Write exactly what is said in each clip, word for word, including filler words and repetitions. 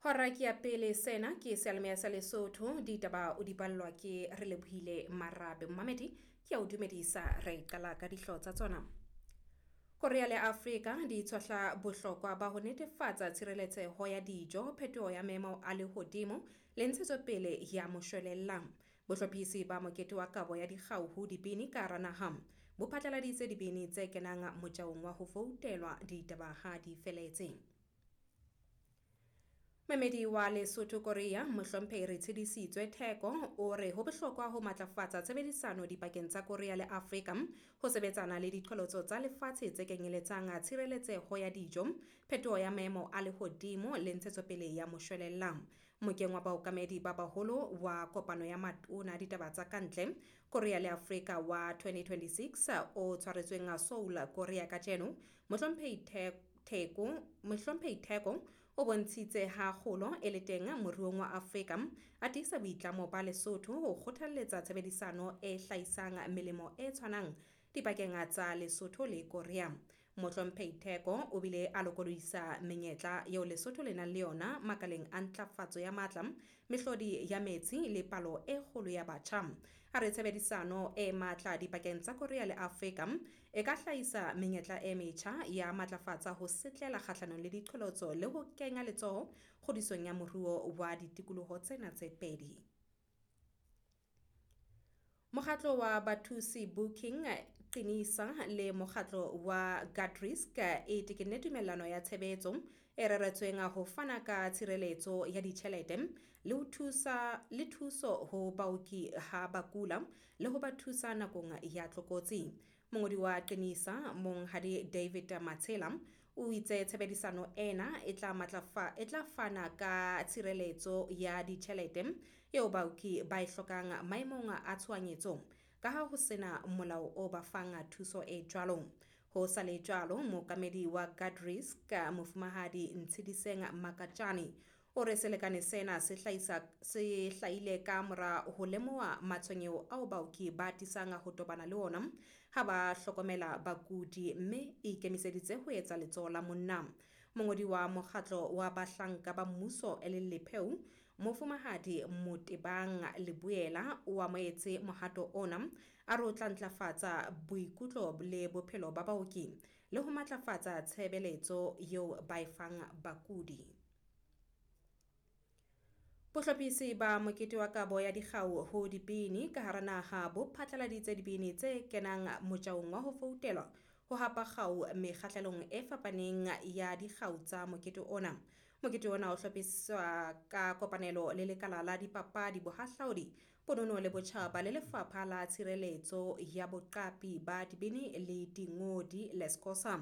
Hora ke ya pele sena ke seyalemoya sa Lesotho ditaba o di ballwa ke Relebohile Marabe. Mmamedi ke a o dumedisa re qala ka dihlooho tsa tsona. Korea le Afrika di tshohla bohlokwa ba ho netefatsa tshireletseho ya dijo, phetoho ya maemo a lehodimo le ntshetsopele ya moshwelella. Bohlophisi ba mokete wa kabo ya dikgau ho dibini ka hara naha bo phatlaladitse dibini tse kenang motjaong wa ho voutelwa ditaba ha di feletse. Moemedi wa Lesotho Korea Mohlomphehi Retshidisitswe Theko o re ho bohlokwa ho matlafatsa tshebedisano dipakeng tsa Korea le Afrika ho sebetsana le diqholotso tsa lefatshe tse kenyeletsang tshireletseho ya dijo, phetoho ya maemo a lehodimo le ntshetsopele ya moshwelella. Mokeng wa baokamedi ba baholo wa kopano ya matona a ditaba tsa kantle Korea le Afrika wa twenty twenty-six o tshwaretsweng Seoul Korea kajeno, Mohlomphehi Theko Mohlomphehi Theko o bontshitse ha kgolo e le teng moruong wa Afrika, a tiisa boitlamo ba Lesotho ho kgothalletsa tshebedisano e hlahisang melemo e tshwanang dipakeng tsa Lesotho le Korea. Mohlomphehi Theko o bile a lokodisa menyetla eo Lesotho le nang le yona makaleng a ntlafatso ya matla, mehlodi ya metsi le palo e kgolo ya batjha. A re tshebedisano e matla dipakeng tsa Korea le Afrika e ka hlahisa menyetla e metjha ya matlafatsa ho setlela kgahlanong le diqholotso le ho kenya letsoho kgodisong ya moruo wa ditikoloho tsena tse pedi. Mokgatlo wa Bathusi Booking Qinisa le mokgatlo wa Guardrisk e tekenne tumellano ya tshebetso e reretsweng ho fana ka tshireletso ya ditjhelete le ho thusa le thuso ho baoki ha ba kula le ho ba thusa nakong ya tlokotsi. Mongodi wa Qinisa Monghadi David Matshela o itse tshebedisano ena e tla matlafa e tla fana ka tshireletso ya ditjhelete eo baoki ba e hlokang maemong a tshohanyetso ka ha ho sena molao o ba fang thuso e jwalo. Ho sa le jwalo, mookamedi wa Guardrisk Mofumahadi Ntshediseng Makatjane o re selekane sena se hlahisa se hlahile ka mora ho lemoha matshwenyeho ao baoki ba atisang ho tobana le ona ha ba hlokomela bakudi mme e ikemiseditse ho etsa letsoho la monna. Mongodi wa mokgatlo wa bahlanka ba mmuso e leng Lepheu Mofumahadi Motebang Leboela o amohetse mohato ona, a re o tla ntlafatsa boikutlo le bophelo ba baoki le ho matlafatsa tshebeletso eo ba e fang bakudi. Bohlophisi ba mokete wa kabo ya dikgau ho dibini ka hara naha bo phatlaladitse dibini tse kenang motjaong wa ho voutelwa ho hapa kgau mekgahlelong e fapaneng ya dikgau tsa mokete ona. Mokete ona o hlophiswa ka kopanelo le lekala la dipapadi, bohahlaudi, bonono le botjhaba le lefapha la tshireletso ya boqapi ba dibini le dingodi Lescosa.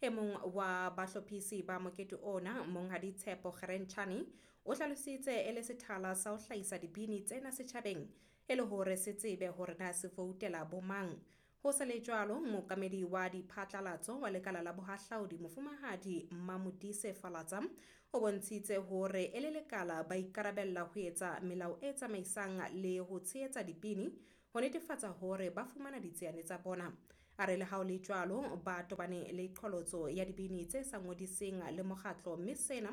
E mong wa bahlophisi ba mokete ona, Monghadi Tshepo Kgerentjhane, o hlalositse e le sethala sa ho hlahisa dibini tsena setjhabeng e le hore se tsebe hore na se voutela bomang. Ho sa le jwalo, mookamedi wa diphatlalatso wa lekala la bohahlaudi Mofumahadi Mamodise Falatsa o bontshitse hore e le lekala ba ikarabella ho etsa melao e tsamaisang le ho tshehetsa dibini ho netefatsa hore ba fumana ditsiane tsa bona. A re le ha ho le jwalo, ba tobane le qholotso ya dibini tse sa ngodiseng le mokgatlo mme sena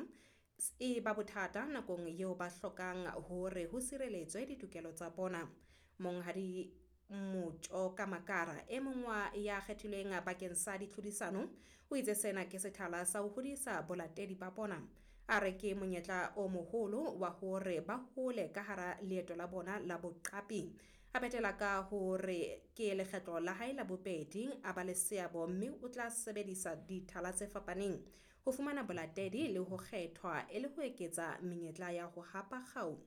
e ba bothata nakong eo ba hlokang hore ho sireletswe ditokelo tsa bona. Monghadi Motjoka Makara e mong wa ya kgethilweng bakeng sa ditlhodisano o itse sena ke sethala sa ho hodisa bolatedi ba bona. A re ke monyetla o moholo wa hore ba hole ka hara leeto la bona la boqapi. A phethela ka hore ke lekgetlo la hae la bobedi a ba le seabo mme o tla sebedisa dithala tse fapaneng ho fumana bolatedi le ho kgethwa e le ho eketsa menyetla ya ho hapa kgau.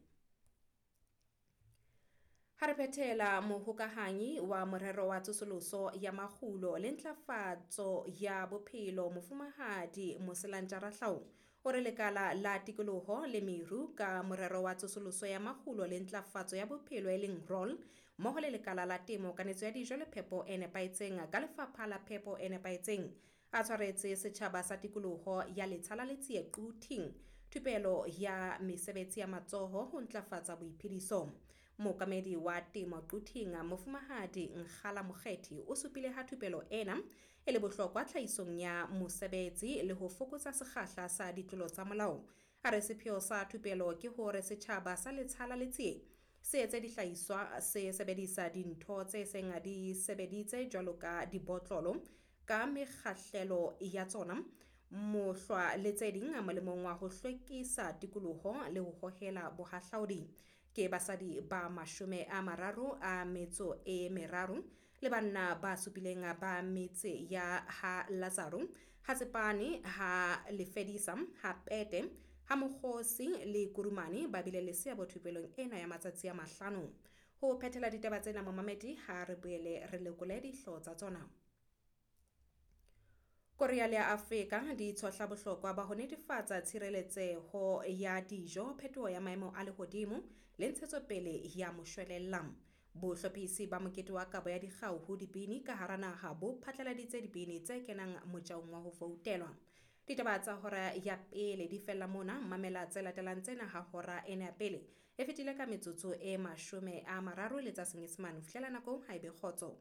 Ha re phethela, mohokahanyi wa morero wa tsosoloso ya makgulo le ntlafatso ya bophelo Mofumahadi Moselantja Rahlao o re lekala la tikoloho le meru ka morero wa tsosoloso ya makgulo le ntlafatso ya bophelo e leng ROL mmoho le lekala la temo, kanetso ya dijo le phepo e nepahetseng ka lefapha la phepo e nepahetseng a tshwaretse setjhaba sa tikoloho ya Letsha la Letsie Quthing thupelo ya mesebetsi ya matsoho ho ntlafatsa boiphediso. Mookamedi wa temo Quthing Mofumahadi Nkgala Mokgethi o supile ha thupelo ena e le bohlokwa tlhahisong ya mosebetsi le ho fokotsa sekgahla sa ditlolo tsa molao. A re sepheo sa thupelo ke hore setjhaba sa Letsha la Letsie se etse dihlahiswa se sebedisa dintho tse seng di sebeditse jwalo ka dibotlolo ka mekgahlelo ya tsona, mohlwa le tse ding molemong wa ho hlwekisa tikoloho le ho hohela bohahlaudi. Ke basadi ba mashome a mararo a metso e meraro le banna ba supileng ba metse ya ha Lazaro, ha Tsepane, ha Lefedisa, ha Peete, ha Mokgosi le Kurumane ba bile le seabo thupelong ena ya matsatsi a mahlano. Ho phethela ditaba tsena momamedi ha re boele re lekole dihlooho tsa tsona. Korea le Afrika di tshohla bohlokwa ba ho netefatsa tshireletseho ya dijo, phetoho ya maemo a lehodimo le ntshetsopele ya moshwelella. Bohlophisi ba mokete wa kabo ya dikgau ho dibini ka hara naha bo phatlaladitse dibini tse kenang motjaong wa ho voutelwa. Ditaba tsa hora ya pele di fella mona, mamela tse latelang tsena ha hora ena ya pele e fetile ka metsotso e mashome a mararo le tsa Senyesemane. Ho fihlela nakong ha ebe kgotso.